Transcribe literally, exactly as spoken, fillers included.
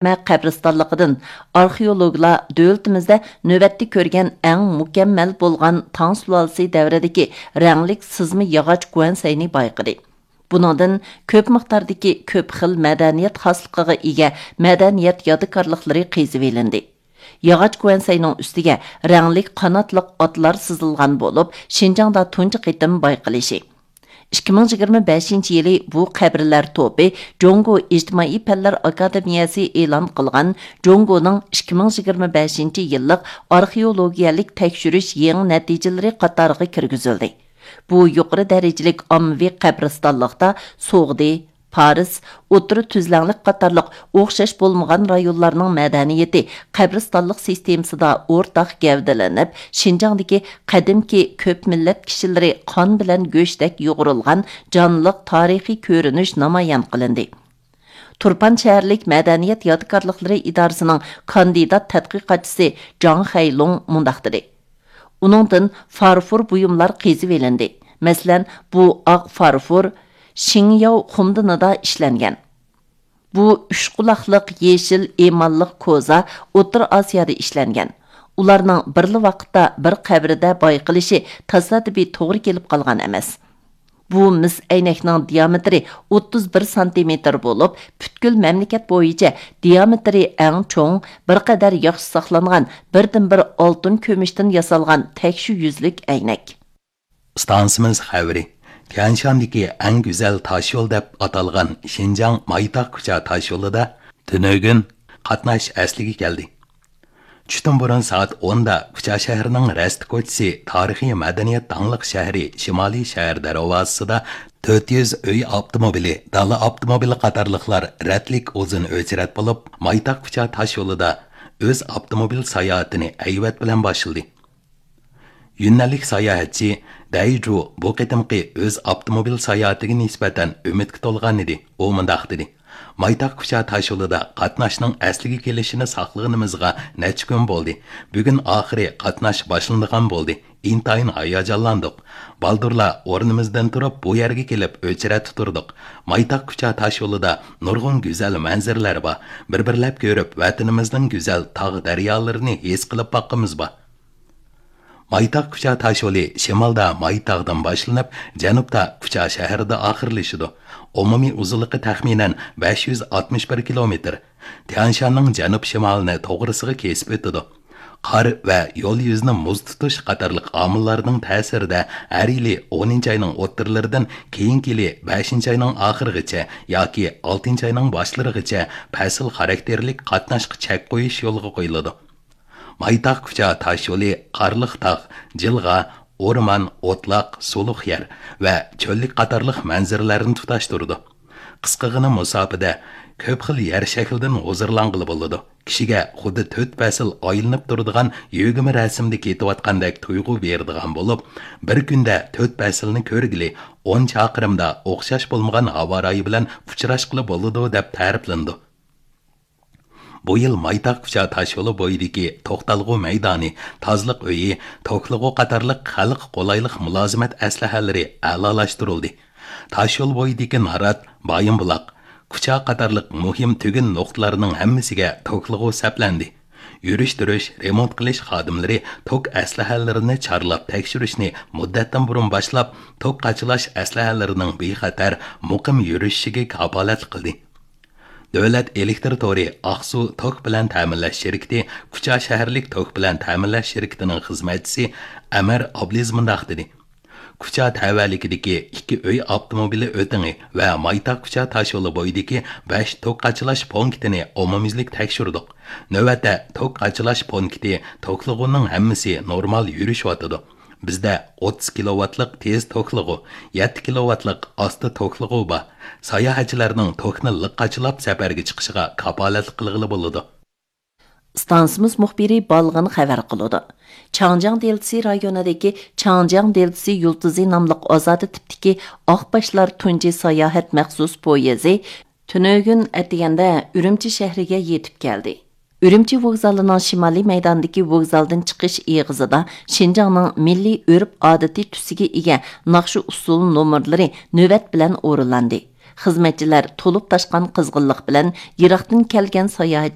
قەبرىستانلىقىدىن ئارخېئولوگلار دۆلىتىمىزدە نۆۋەتتە كۆرگەن ئەڭ مۇكەممەل بولغان تاڭ سۇلالىسى دەۋرىدىكى رەڭلىك سىزما ياغاچ گۇەنسەينى بايقىدى. بۇنىڭدىن كۆپ مىقداردىكى كۆپ خىل مەدەنىيەت خاسلىقىغا ئىگە مەدەنىيەت يادىكارلىقلىرى قېزىۋېلىندى. ياغاچ گۇەنسەينىڭ ئۈستىگە رەڭلىك قاناتلىق ئاتلار سىزىلغان بولۇپ، شىنجاڭدا تۇنجى قېتىم بايقىلىشى. ئىككى مىڭ يىگىرمە بەشىنچى يىلى بۇ قەبرىلەر توپى جۇڭگو ئىجتىمائىي پەنلەر ئاكادېمىيەسى ئېلان قىلغان جۇڭگونىڭ ئىككى مىڭ يىگىرمە بەشىنچى يىللىق ئارخېئولوگىيەلىك تەكشۈرۈش يېڭى نەتىجىلىرى قاتارىغا كىرگۈزۈلدى. بۇ يۇقىرى دەرىجىلىك ئاممىۋى قەبرىستانلىقتا سوغدى، پارس، ئوتتۇرا تۈزلەڭلىك قاتارلىق ئوخشاش بولمىغان رايونلارنىڭ مەدەنىيىتى قەبرىستانلىق سىستېمىسىدا ئورتاق گەۋدىلىنىپ، شىنجاڭدىكى قەدىمكى كۆپ مىللەت كىشىلىرى قان بىلەن گۆشتەك يۇغۇرۇلغان جانلىق تارىخىي كۆرۈنۈش نامايان قىلىندى. تۇرپان شەھەرلىك مەدەنىيەت يادىكارلىقلىرى ئىدارىسىنىڭ كاندىدات تەتقىقاتچىسى جاڭ خەيلۇڭ مۇنداق دېدى: ئۇنىڭدىن فارفور بۇيۇملار قېزىۋېلىندى. مەسىلەن، بۇ ئاق فارفور شىڭياۋ خۇمدىنىدا ئىشلەنگەن. بۇ ئۈچ قۇلاقلىق يېشىل ئېماللىق كوزا ئوتتۇرا ئاسىيادا ئىشلەنگەن. ئۇلارنىڭ بىرلا ۋاقىتتا بىر قەبرىدە بايقىلىشى تاسادىپىي توغرا كېلىپ قالغان ئەمەس. بۇ مىس ئەينەكنىڭ دىيامېتىرى ئوتتۇز بىر سانتىمېتىر بولۇپ، پۈتكۈل مەملىكەت بويىچە دىيامېتىرى ئەڭ چوڭ، بىر قەدەر ياخشى ساقلانغان، بىردىنبىر ئالتۇن كۈمۈشتىن ياسالغان تەكشى يۈزلۈك ئەينەك. ئىستانسىمىز خەۋىرى. تيەنشاندىكى ئەڭ گۈزەل تاشيول دەپ ئاتالغان شىنجاڭ مايتاغ كۇچا تاشيولىدا تۈنۈگۈن قاتناش ئەسلىگە كەلدى. چۈشتىن بۇرۇن سائەت ئوندا كۇچا شەھىرىنىڭ رەستە كوچىسى، تارىخىي مەدەنىيەت داڭلىق شەھىرى شىمالىي شەھەر دەرۋازىسىدا تۆت يۈز ئۆي ئاپتوموبىلى، دالا ئاپتوموبىلى قاتارلىقلار رەتلىك ئۇزۇن ئۆچرەت بولۇپ، مايتاغ كۇچا تاشيولىدا ئۆز ئاپتوموبىل ساياھىتىنى ھەيۋەت بىلەن باشلىدى. يۈننەنلىك ساياھەتچى دەي جۇ بۇ قېتىمقى ئۆز ئاپتوموبىل ساياھىتىگە نىسبەتەن ئۈمىدكە تولغان ئىدى. ئۇ مۇنداق دېدى: مايتاغ كۇچا تاشيولىدا قاتناشنىڭ ئەسلىگە كېلىشىنى ساقلىغىنىمىزغا نەچچە كۈن بولدى. بۈگۈن ئاخىرى قاتناش باشلىنىدىغان بولدى. ئىنتايىن ھاياجانلاندۇق. بالدۇرلا ئورنىمىزدىن تۇرۇپ، بۇ يەرگە كېلىپ ئۆچرەتتە تۇردۇق. مايتاغ كۇچا تاشيولىدا نۇرغۇن گۈزەل مەنزىرىلەر بار. بىر-بىرلەپ كۆرۈپ، ۋەتىنىمىزنىڭ گۈزەل تاغ-دەريالىرىنى ھېس قىلىپ باققىنىمىز بار. مايتاغ كۇچا تاشيولى شىمالدا مايتاغدىن باشلىنىپ، جەنۇبتا كۇچا شەھىرىدە ئاخىرلىشىدۇ. ئومۇمىي ئۇزۇنلۇقى تەخمىنەن بەش يۈز ئاتمىش بىر كىلومېتىر. تيەنشاننىڭ جەنۇب-شىمالىنى توغرىسىغا كېسىپ ئۆتىدۇ. قار ۋە يول يۈزىنى مۇز تۇتۇش قاتارلىق ئامىللارنىڭ تەسىرىدە ھەر يىلى ئونىنچى ئاينىڭ ئوتتۇرىلىرىدىن كېيىنكى يىلى بەشىنچى ئاينىڭ ئاخىرىغىچە ياكى ئالتىنچى ئاينىڭ باشلىرىغىچە پەسىل خاراكتېرلىك قاتناشقا چەك قويۇش يولغا قويۇلىدۇ. مايتاغ كۇچا تاشيولى قارلىق تاغ، جىلغا، ئورمان، ئوتلاق، سۇلۇق يەر ۋە چۆللۈك قاتارلىق مەنزىرىلەرنى تۇتاشتۇرىدۇ. قىسقىغىنە مۇساپىدە كۆپ خىل يەر شەكلىدىن ھۇزۇرلانغىلى بولىدۇ. كىشىگە خۇددى تۆت پەسىل ئايلىنىپ تۇرىدىغان يۆگىمە رەسىمدە كېتىۋاتقاندەك تۇيغۇ بېرىدىغان بولۇپ، بىر كۈندە تۆت پەسىلنى كۆرگىلى، ئون چاقىرىمدا ئوخشاش بولمىغان ھاۋا رايى بىلەن ئۇچراشقىلى بولىدۇ، دەپ تەرىپلىنىدۇ. بۇ يىل مايتاغ كۇچا تاشيولى بويىدىكى توختالغۇ مەيدانى، تازىلىق ئۆيى، توكلىغۇ قاتارلىق خەلققە قولايلىق مۇلازىمەت ئەسلىھەلىرى ئەلالاشتۇرۇلدى. تاشيول بويىدىكى نارات، بايىنبۇلاق، كۇچا قاتارلىق مۇھىم تۈگۈن نۇقتىلارنىڭ ھەممىسىگە توكلىغۇ سەپلەندى. يۈرۈشتۈرۈش، رېمونت قىلىش خادىملىرى توك ئەسلىھەلىرىنى چارلاپ تەكشۈرۈشنى مۇددەتتىن بۇرۇن باشلاپ، توك قاچىلاش ئەسلىھەلىرىنىڭ بىخەتەر، مۇقىم يۈرۈشۈشىگە كاپالەتلىك قىلدى. دۆلەت ئېلېكتىر تورى ئاقسۇ توك بىلەن تەمىنلەش شىركىتى كۇچا شەھەرلىك توك بىلەن تەمىنلەش شىركىتىنىڭ خىزمەتچىسى ئەمەر ئابلىز مۇنداق دېدى: كۇچا تەۋەلىكىدىكى ئىككى ئۆي ئاپتوموبىلى ئۆتىڭى ۋە مايتاغ كۇچا تاشيولى بويىدىكى بەش توك قاچىلاش پونكىتىنى ئومۇميۈزلۈك تەكشۈردۇق. نۆۋەتتە توك قاچىلاش پونكىتى توكلىغۇنىڭ ھەممىسى نورمال يۈرۈشۈۋاتىدۇ. بىزدە ئوتتۇز كىلوۋاتلىق تېز توكلىغۇ، يەتتە كىلوۋاتلىق ئاستا توكلىغۇ بار. ساياھەتچىلەرنىڭ توكنى لىق قاچىلاپ سەپەرگە چىقىشىغا كاپالەتلىك قىلغىلى بولىدۇ. ئىستانسىمىز مۇخبىرى بالغىن خەۋەر قىلىدۇ. چاڭجياڭ دېلتىسى رايونىدىكى چاڭجياڭ دېلتىسى يۇلتۇزى ناملىق ئازادە تىپتىكى ئاقباشلار تۇنجى ساياھەت مەخسۇس پويىزى تۈنۈگۈن ئەتىگەندە ئۈرۈمچى شەھىرىگە يېتىپ كەلدى. ئۈرۈمچى ۋوگزالىنىڭ شىمالىي مەيدانىدىكى ۋوگزالدىن چىقىش ئېغىزىدا شىنجاڭنىڭ مىللىي ئۆرپ-ئادىتى تۈسىگە ئىگە ناخشا-ئۇسسۇل نومۇرلىرى نۆۋەت بىلەن ئورۇنلاندى. خىزمەتچىلەر تولۇپ تاشقان قىزغىنلىق بىلەن يىراقتىن كەلگەن ساياھەتچى